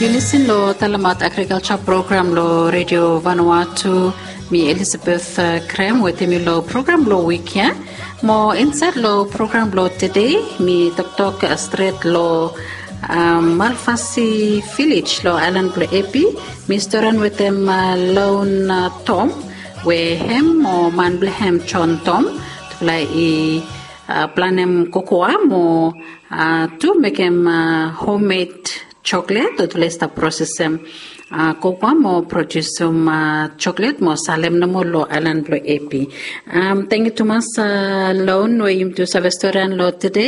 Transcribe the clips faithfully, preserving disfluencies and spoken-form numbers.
Yu lisin long talemaot agrikalsa program long redio Vanuatu. Mi Elizabeth uh, Krem wetem yu long program long wik ya. Mo insait long program long tede mi toktok uh, stret long um, Malfasi Village long ailan blong Epi. Mi storan wetem uh, Lon uh, Tom we hem mo man blong hem John Tom tufala i uh, planem kokoa mo uh, tu mekem uh, homemade chocolate o tufala i stap prosesem uh, kokoa mo produsum uh, chocolate mo salem nomo long ailan blong Epi. Um, tangyu tumas uh, Lon we yumi tu save storian long tede.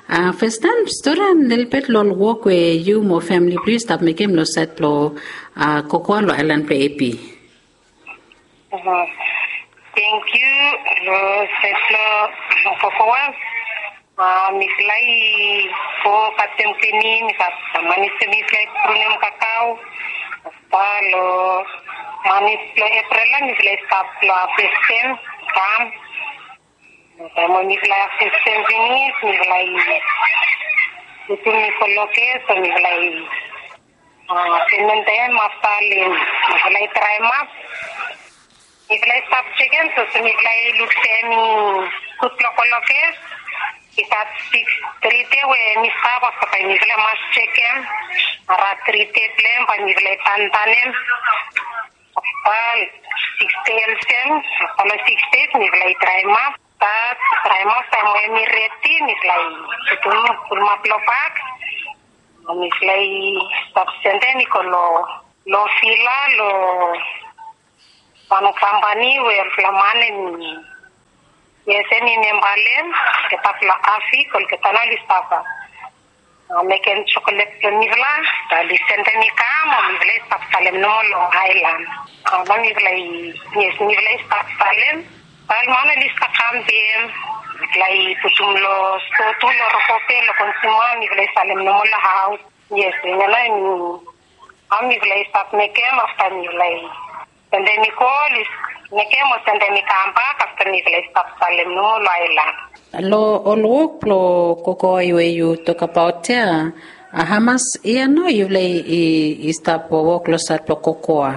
Uh, fastaim storian lelebet long ol wok we yu mo famili blong yu stap mekem long sait blong uh, kokoa long ailan blong Epi. Thank you. Lo setlo kokoa. Mifala i go katem tini, mifala i prunem kakao. Afta lo manis lo April la mifala i stap lo harvestem kam. Taem we mifala i harvestem finis mifala i putum i go lo kes o mifala i Sementem afta lem mifala i draemap. Mifala i stap jekem so se mifala i luk se mi gud blong go lo kes. I gat siks tri dei we mi stap afta bae mifala i mas jekem. Ara tri dei blong hem bae mifala i tantanem. Afta siks dei olsem afta long siks dei mifala i draemap. Draemap taem we mi redi mifala i putum pulumap long bak. Mifala i stap sendem i go long long vila long wan kampani we olfala man em i yes em i memba long olgeta blong afik olgeta nao oli stap mekem jokolet blong mifala. Oli sendem i kam o mifala i stap salem nomo long aelan. Nao mifala i yes mifala i stap salem. Ol man oli stap kam be mifala i putum long stoa tu long rokope long konsuma mifala i salem nomo long haos. Yes, hemia nao em hao mifala i stap mekem afta mifala i sendem i go oli mekem o sendem i kambak afta mifala i stap salem nomo long aelan. Long ol wok blong kokoa we yu tokbaot ya, hamas yia nao yufala i stap wok long sait blong kokoa?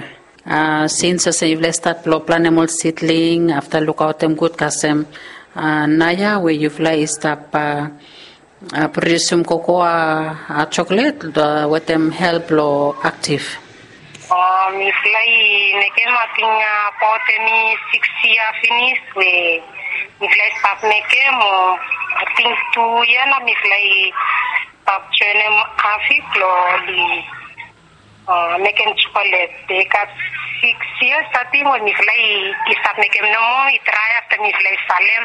Sins olsem yufala i stat blong planem ol sidling afta lukaotem gud kasem naoia we yufala i stap produsim kokoa joklet wetem help blong aktif. Mifala i mekem ating abaot hemi siks yia finis we mifala i stap mekem o ating tu yia nao mifala i stap joenem aktif blong oli mekem jokolet. Be i gat siks yia stating we mifala i stap mekem nomo i drae afta mifala i salem.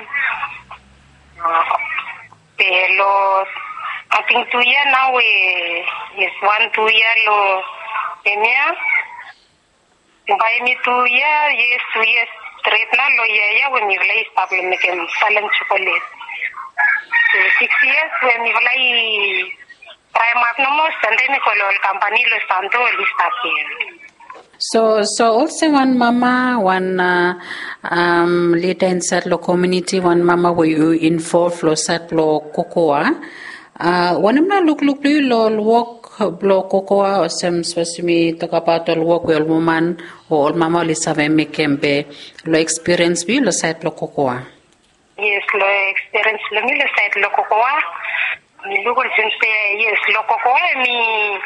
Be long ating tu yia nao we yes wan tu yia long hemia. Bae hemi tu yia yes tu yia stret nao long yia ya we mifala i stap long mekem salem jokolet. Be siks yia we mifala i traem ap nomo sendem i go long ol kampani long santo oli stap ya. So so olsem wan mama wan lida insait long komuniti wan mama we yu involv long sait blong kokoa, wanem nao lukluk blong yu long ol wok blong kokoa olsem sapos yumi tokbaot ol wok we ol woman o ol mama oli save mekem be long ekspiriens blong yu long sait blong kokoa? Yes, long ekspiriens blong mi long sait long kokoa mi luk olsem se yes long kokoa hemi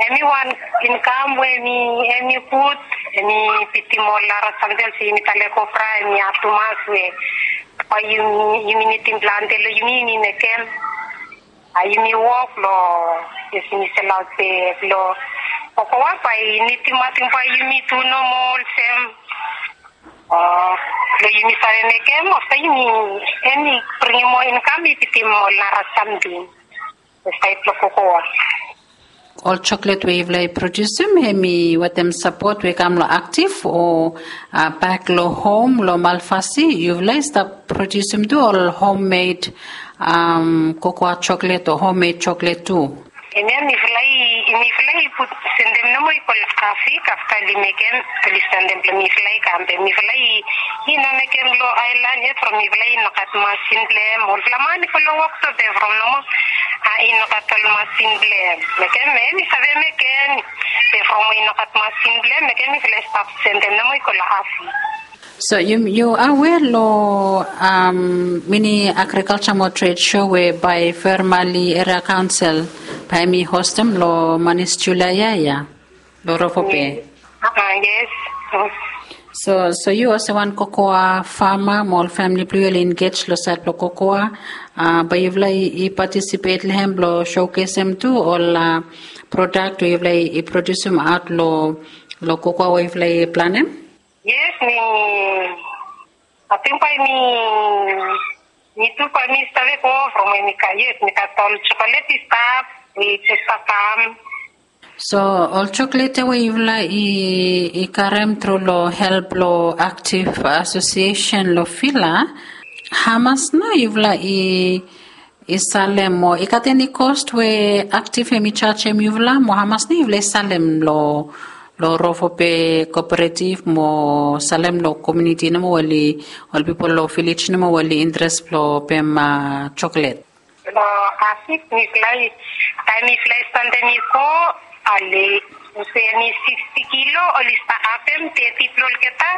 hemi wan inkam we hemi hemi gud. Hemi bitim ol nara samting olsem yumi talem kopra hemi hat tumas we bae yumi yumi nidim plante long yumi yumi mekem. Bae yumi wok long yes yumi selaot be long kokoa bae i nidim ating bae yumi tu nomo olsem o long yumi save mekem afta yumi hemi bringim moa inkam i bitim ol nara samting. Sait blong kokoa. Ol joklet we yufala i produsim hemi wetem sapot we i kam long aktif o bak long hom long malfasi yufala i stap produsim tu ol hommed kokoa joklet o hommed joklet tu? Hemia mifala i mifala i put sendem nomo i go long afik afta oli mekem oli sendem blong mifala i kam be mifala i i no mekem long aelan yet from mifala i no gat masin blong hem olfala man i go long wok so be from nomo A i no gat ol masin blong em. Mekem em i save mekem. Be from we i no gat masin blong em, mekem mifala i stap sendem nomo i go long Afi. So yu yu aware long um, mini agriculture mo trade show we bae Fairmali Area Council bae mi hostem long manis July ia ia long Rovope. Yes. So so yu olsem wan kokoa fama mo ol famili blong yu oli engage long sait blong kokoa, bae yufala i participate long hem blong showcasem tu ol product we yufala i produsim aot long kokoa we yufala i planem? Yes, mi ating bae mi mi tu bae mi save go from we mi gat, yes, mi gat ol chocolate i stap, we i stap kam. So ol chocolate ia we yufala i i karem tru long help long Active Association long Vila, hamas nao yufala i i salem mo i gat eni cost we Active hem i jajem yufala mo hamas nao yufala i salem long long Rovope Cooperative mo salem long komuniti nomo we oli ol pipol long vilej nomo we oli interes blong pem chocolate? Long Afi mifala i taem mifala i sandem i go, ale olsem eni siksti kilo oli stap hafem teti blong olgeta,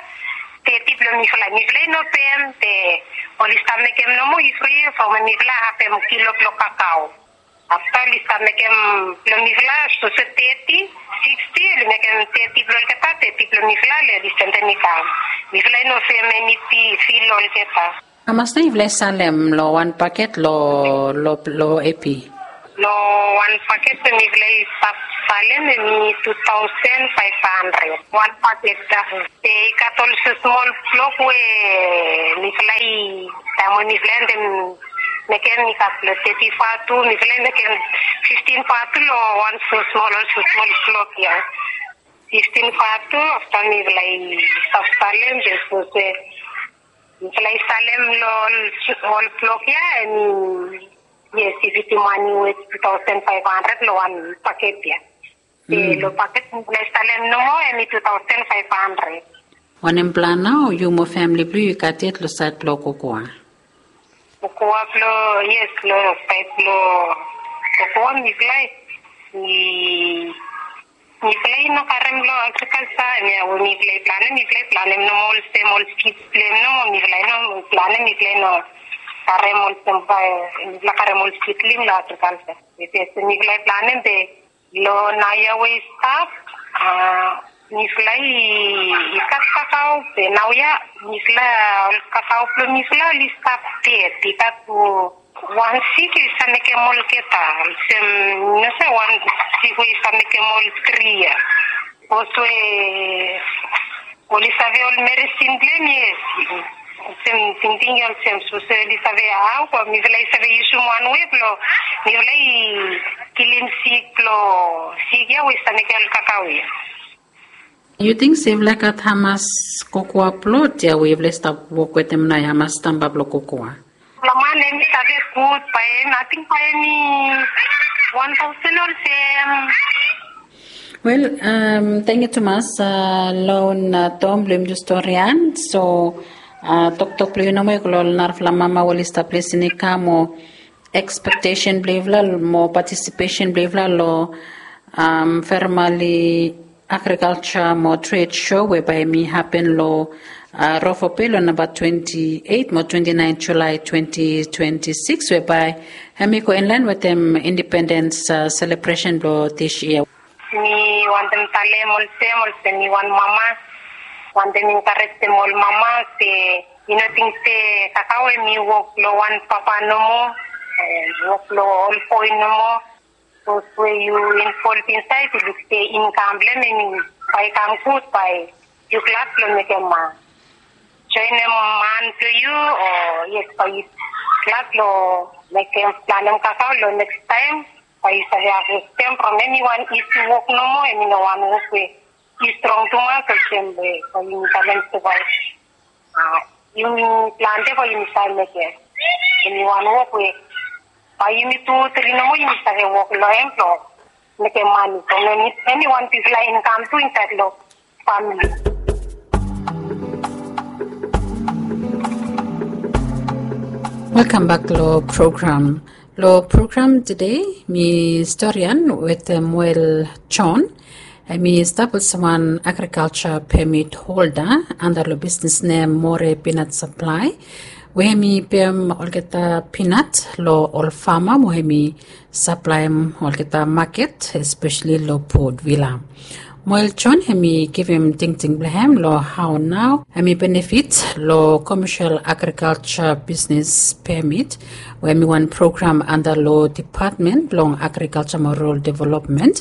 teti blong mifala, mifala i no pem be oli stap mekem nomo i fri from mifala hafem kilo blong kakao. Afta oli stap mekem blong mifala olsem teti, siksti oli mekem teti blong olgeta, teti blong mifala, oli sendem i kam. Mifala i no pem eni fi long olgeta. Hamas nao yufala i salem long wan paket long long long Epi? Long wan paket we mifala i stap salem hemi tu taosen faef handred wan paket. Be i gat olsem smol blok we mifala i taem we mifala i mekem i gat long teti vatu, mifala i mekem fiftin vatu long wan smol olsem smol blok ia. Fiftin vatu afta mifala i stap salem be olsem mifala i salem long ol blok ia, hemi yes, i bitim mane we tu taosen faef handred long wan paket ia. Be long paket mifala i salem nomo hemi tu taosen faef handred. Wanem plan nao yu mo famili blong yu i gat yet long sait blong kokoa? Kokoa blong yes, long sait blong kokoa mifala i mifala i no karem long agrikalja, hemia we mifala i planem, mifala i planem nomo olsem ol sid blong hem nomo, mifala i no planem, mifala i no karem olsem bae mifala karem ol sidling long agrikalja. Mifala i planem be long naoia we i stap, a mifala i gat kakao be naoia mifala ol kakao blong mifala oli stap ded, i gat wan sik i save mekem olgeta olsem, no se wan sik we i save mekem ol tri ia. Bikos we oli save ol meresin blong hem, yes. Olsem tingting ia olsem, sapos oli save hao, be mifala i save yusum wan we blong mifala i kilim sik blong sik ia we i save mekem ol kakao ia. Yu ting se yufala i gat hamas kokoa plot ia we yufala i stap wok wetem nao, hamas stamba blong kokoa? Long man hemi save gud bae hem, ating bae hemi wan taosen olsem. Wel, tangkiu tumas long Tom blong yumi tu storian. So toktok blong yu nomo i go long ol narafala mama we oli stap lisin i kam mo ekspektesen blong yufala mo patisipesen blong yufala long Fairmali Agrikalja mo Tred Sho we bae hemi hapen long Rovope long namba twenti eit mo twenti naen Julae twenti twenti sikis, we bae hemi go inlaen wetem indipendens selebresen blong dis yia. Mi wantem talem olsem, olsem mi wan mama, wantem enkarejem ol mama se i no ting se kakao hemi wok blong wan papa nomo, wok blong ol boe nomo. Sapos we yu involv insaed, yu luk se inkam blong hem hemi bae i kam gud, bae yu glad blong mekem joenem man blong yu, o yes, bae yu glad blong mekem planem kakao long nekis taem. Bae yu save havestem from hem. Hemi wan isi wok nomo, hemi no wan wok we i strong tumas olsem we bae yumi talem se bae yumi plante bae yumi save mekem. Hemi wan wok we bae yumi tu tri nomo yumi save wok long hem blong mekem mane from eni wan bigfala inkam tu insaed long famili. Welkam bak long program. Long program tede mi storian wetem Moel John. Em i stap olsem wan agrikalsa pemit holda anda long bisnis nem More Pinat Saplai, we em i pem olgeta pinat long ol fama mo em i saplaem olgeta maket, espesali long Port Vila. Moel John em i givim tingting blong em long hao nao em i benefit long komesel agrikalsa bisnis pemit, we em i wan program anda long Dipatmen blong Agrikalsa mo Rural Developmen,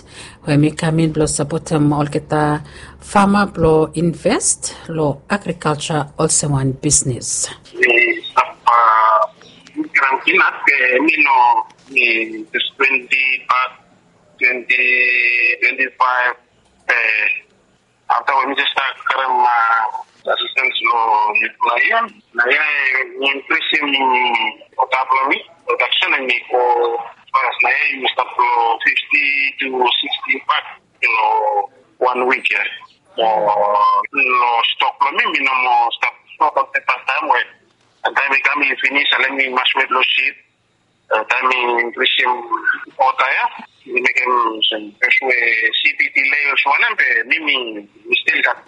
we em i kam in blong sapotem olgeta fama blong invest long agrikalsa olsem wan bisnis. Mi stap, a, givim pinat, e, mi no, mi just twenti bak, twenti, twenti faef, e, afta we mi just stap karem, a, asistens long yut blong yia. Naoia, e, mi inkrisim ota blong mi, prodaksen em i go fas. Naoia, mi stap long fifti tu siksti bak long wan wik ya. Mo long stok blong mi, mi no moa stap, no stap olsem fastaem we taem i kam i finis, a, mi mas wet long sip. E, taem mi inkrisim ota ya, mi mekem olsem, bikos we sip i dilei olsem wanem, be mi, mi, mi stil gat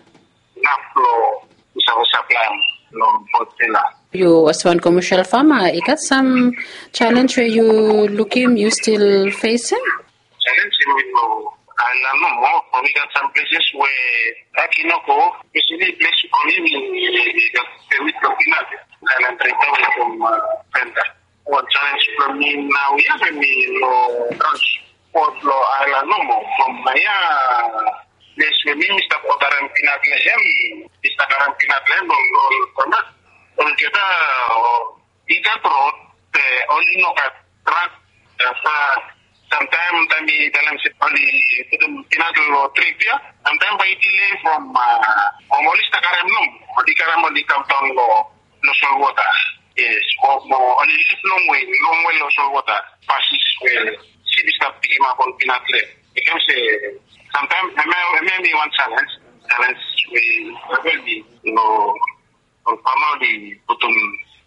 inaf blong mi save saplaem long Port Vila. Yu olsem wan komesel fama, i gat sam jalenj we yu lukim yu stil fesem? Jalenj em i long aelan nomo. Mo i gat sam pleses we dak i no go, espesali ples blong mi, mi gat pemit blong pinat, aelan trade we from, a, Venda. Wan jalenj blong mi naoia, be mi long transpot long aelan nomo from naoia ples we mi, mi stap odarem pinat long hem, mi stap karem pinat long hem, ol, ol famas olgeta, o, i gat rod, be oli no gat trak. Afta samtaem, taem mi talem se oli putum pinat long trip ya, samtaem bae i dilei from, a, from oli stap karem nomo, oli karem, oli kamdaon long, long solwota. Yes, mo, mo oli lif longwe, longwe long solwota, plases we sip i stap pikimap ol pinat long hem. Mekem se samtaem hemia, hemia em i wan jalenj, jalenj we i hapen long ol fama oli putum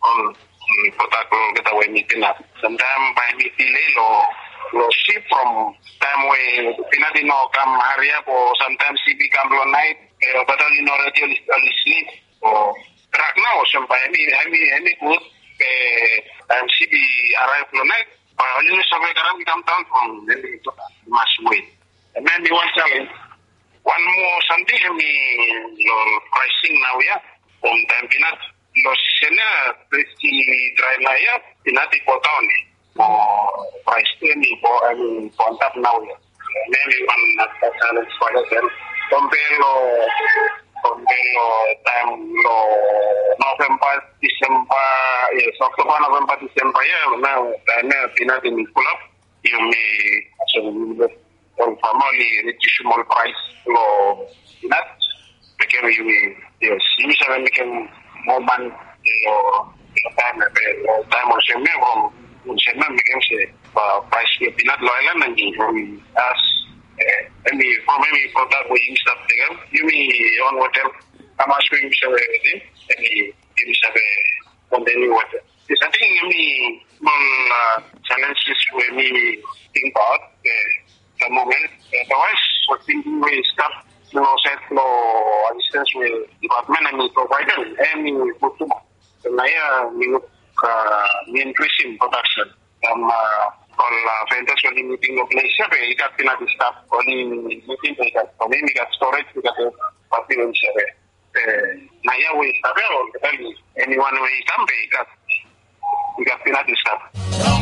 ol, mm, prodak long olgeta we hem i pinat. Samtaem bae hem i dilei long, long sip from taem we pinat i no kam hariap, o samtaem sip i kam long naet, e, olgeta oli no redi, oli, oli slip. O trak nao olsem bae hem i, hem i, hem i gud, be taem sip i araev long naet, bae oli no save karem i kamdaon from hem i mas wet. Hemia em i wan jalenj. Wan moa samting hemi long praesing naoia. From taem pinat long sisen ya, ples i drae naoia, pinat i godaon. Mo praes tu hemi go, hemi go antap naoia. Hemia hemi wan nara jalenj for olsem. Kompea long, kompea long taem long Novemba, Disemba, yes, Oktoba, Novemba, Disemba ya, nao taem ya pinat hemi pulap. Yumi, so, ol fama oli rediusim ol praes long pinat. Mekem yumi, yes, yumi save mekem moa mane long, long taem ya, be long taem olsem ya, from olsem ya mekem se, a, praes blong pinat long aelan hemi, hemi as, e, hemi, from hemi prodak we yumi stap tekem, yumi on wetem hamas we yumi save, e, hemi, yumi save kontiniu wetem. Yes, ating hemi ol, a, jalenjes we mi tingbaot, e, the moment. Otherwise, ating we stap long saed long asistens we dipatmen hemi provaedem, hemi gud tumas. Naoia mi luk, a, mi inkrisim prodaksen. From, a, ol, a, vendas we oli miting long ples ya, be i gat pinat i stap, oli miting, be i gat, from hem i gat storage, i gat, e, pati we i save. E, naoia we i stap ya, ol, eniwan we i kam, be i gat, i gat pinat i stap.